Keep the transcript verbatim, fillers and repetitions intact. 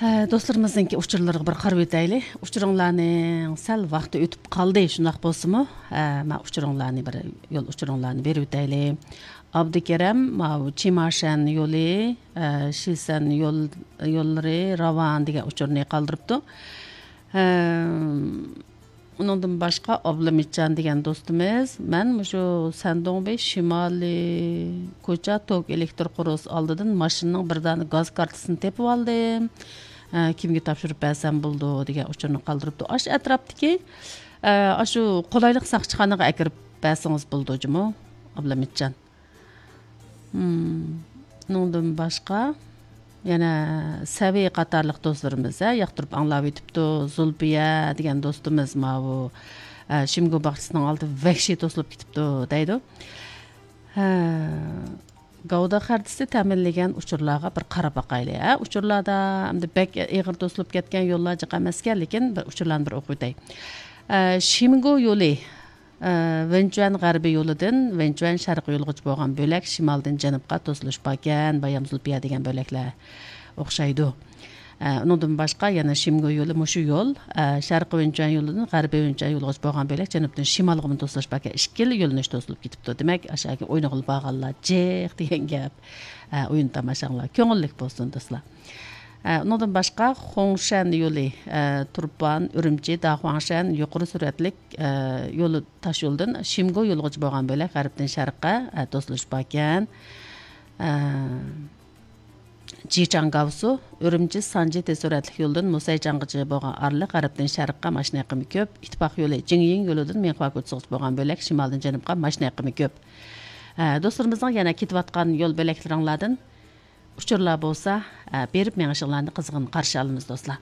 ھە، دوستلىرىمىزنىڭكى ئۇچۇرلىرىغا بىر قاراپ ئۆتەيلى. ئۇچۇرۇڭلارنىڭ سەل ۋاقتى ئۆتۈپ قالدى، شۇنداق بولسىمۇ، ھە، مەن ئۇچۇرۇڭلارنى بىر يول ئۇچۇرۇڭلارنى بېرىپ ئۆتەيلى. ئابدۇكېرەم، ماۋۇ چىماشەن يولى، ھە، شىسەن يول، يوللىرى راۋان دېگەن ئۇچۇرنى قالدۇرۇپتۇ. ھە، ئۇنىڭدىن باشقا ئابلىمىتجان دېگەن دوستىمىز، مەن مۇشۇ سەندۇڭبېي شىمالىي كوچا توك ئېلېكتر قورۇس ئالدىدىن ماشىنىنىڭ بىر دانە گاز كارتىسىنى تېپىپ ئالدىم. ئە، كىمگە تاپشۇرۇپ بەرسەم بولىدۇ دېگەن ئۇچۇرنى قالدۇرۇپتۇ. ئاشۇ ئەتراپتىكى، ئە، ئاشۇ قولايلىق ساقچىخانىغا ئەكىرىپ بەرسىڭىز بولىدۇ جۇمۇ، ئابلىمىتجان. مم. ئۇنىڭدىن باشقا يەنە سەۋى قاتارلىق دوستلىرىمىز، ھە، ياقتۇرۇپ ئاڭلاۋېتىپتۇ. زۇلپىيە دېگەن دوستىمىز ماۋۇ، ئە، شىمگو باغچىسىنىڭ ئالدى ۋەھشىي توسۇلۇپ كېتىپتۇ دەيدۇ. ھە، گەۋدە خەرىتىسى تەمىنلىگەن ئۇچۇرلارغا بىر قاراپ باقايلى، ھە. ئۇچۇرلاردا ئەمدى بەك ئېغىر توسۇلۇپ كەتكەن يوللار جىق ئەمەسكەن، لېكىن بىر ئۇچۇرلارنى بىر ئوقۇۋېتەي. ئە، شىمگو يولى، ئە، ۋېنچۈەن غەربىي يولىدىن ۋېنچۈەن شەرقىي يولىغىچە بولغان بۆلەك شىمالدىن جەنۇبقا توسۇلۇش باركەن، بايام زۇلپىيە دېگەن بۆلەكلەر ئوخشايدۇ. ئە، ئۇنىڭدىن باشقا يەنە شىمگو يولى مۇشۇ يول، ئە، شەرقىي ۋېنچۈەن يولىدىن غەربىي ۋېنچۈەن يولىغىچە بولغان بۆلەك جەنۇبتىن شىمالغىمۇ توسۇلۇش باركەن، ئىككىلا يۆنىلىش توسۇلۇپ كېتىپتۇ. دېمەك، ئاشۇ يەرگە ئوينىغىلى بارغانلار جىق دېگەن گەپ. ئە، ئويۇن تاماشاڭلار كۆڭۈللۈك بولسۇن، دوستلار. ئە، ئۇنىڭدىن باشقا، خۇڭشەن يولى، ئە، تۇرپان، ئۈرۈمچى، داخۇاڭشەن يۇقىرى سۈرئەتلىك، ئە، يولى، تاش يولىدىن شىمگو يولىغىچە بولغان بۆلەك غەربتىن شەرققە، ئە، توسۇلۇش باركەن. ئە، جىچاڭ گاۋسۇ، ئۈرۈمچى سانجى تېز سۈرئەتلىك يولىدىن مۇسەيچاڭغىچە بولغان ئارىلىق غەربتىن شەرققە ماشىنا ئېقىمى كۆپ. ئىتتىپاق يولى جىڭيىڭ يولىدىن مىڭخۇا كوچىسىغىچە بولغان بۆلەك شىمالدىن جەنۇبقا ماشىنا ئېقىمى كۆپ. ئە، دوستلىرىمىزنىڭ يەنە كېتىۋاتقان يول بۆلەكلىرىڭلاردىن ئۇچۇرلار بولسا، ئە، بېرىپ مېڭىشىڭلارنى قىزغىن قارشى ئالىمىز، دوستلار.